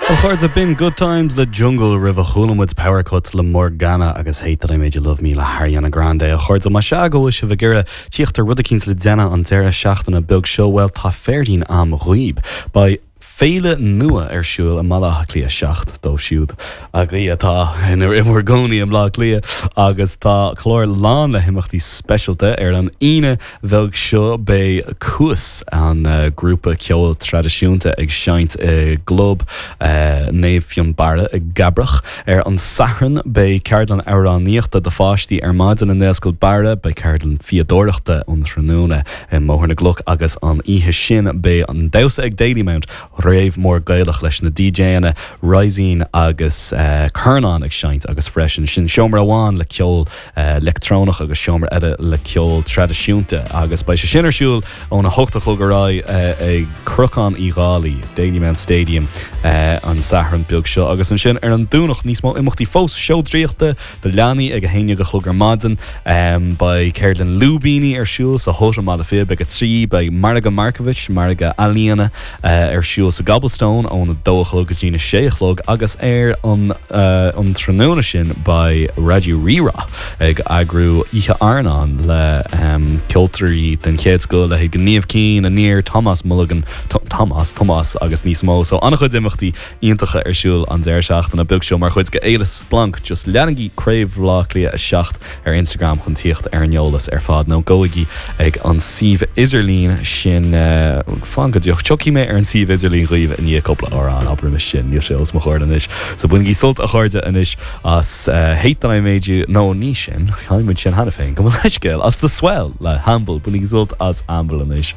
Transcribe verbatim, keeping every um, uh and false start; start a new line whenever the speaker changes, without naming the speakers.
A chairde b'in Good Times le Jungle roimhe chuala muid Power Cuts le Morgana agus Hate That I Made You Love Me le Ariana Grande a chairde má sea go bhfuil sibh ag iarraidh tíocht ar rud éicint le déanamh an deireadh seachtaine beag seo well tá Féirdín am dhaoibh. Beidh féile nua ar siúl i mBaile Átha Cliath seacht dóibh siúd agaibh atá ina bhur gcónaí i mBaile Átha Cliath agus tá clár lán le himeachtaí speisialta ar an Aoine bheag seo beidh Cuas an uh, grúpa ceoil traidisiúnta ag seinnt i gClub uh, Naomh Fionnbarra i gCabrach ar an Satharn beidh ceardlann amhránaíochta do pháistí ar maidin i nGaelscoil Barra beidh ceardlann fíodóireachta um thráthnóna i mBóthar na gCloch agus an oíche sin beidh an damhsa ag Dalymount rave mór Gaelach leis na DJanna Rising agus uh, Cernán ag seinnt agus freisin sin seomra amháin le ceol uh, leictreonach agus seomra eile le ceol traidisiúnta agus beidh sé sin ar siúl óna hocht a chlog ar aghaidh uh, ag Cnocán Uí Dhálaigh Dalymount Stadium uh, an Satharn beag seo agus ansin ar an Domhnach níos mó imeachtaí fós seó draíochta do leanaí ag a haon déag a chlog ar maidin um, beidh ceardlann lúibíní ar siúl sa Hota Mala Fib ag a trí beidh Margadh Markievicz margadh ealaíona uh, ar siúl sa Gobblestone óna dó a chlog go dtína sé a chlog agus ar an uh, an tráthnóna sin beidh Raidió Rí-Rá ag eagrú oíche airneáin le um, ceoltóirí den chéad scoth le Gníomh Cinn Aniar Thomas Mulligan Thomas Thomas agus níos mó so an-chuid imeachtaí iontacha ar siúl an deireadh seachtaine beag seo mar chuid de Fhéile Splanc just leanaigí Craobh Bhaile Átha Cliath a seacht ar Instagram chun tíocht ar an eolas ar fad nó gabhaigí ag an suíomh idirlín sin uh, fan go dtí tiocfaidh mé ar an suíomh idirlín dhaoibh i ndiaidh cúpla amhrán abraimis sin níl sé os mo chomhair anois so bainigí sult a chairde anois as uh, Hate That I Made You nó ní sin chaithimid sin cheana féin gabh mo leithscéal as The Swell le Hamble bainigí sult as Hamble anois.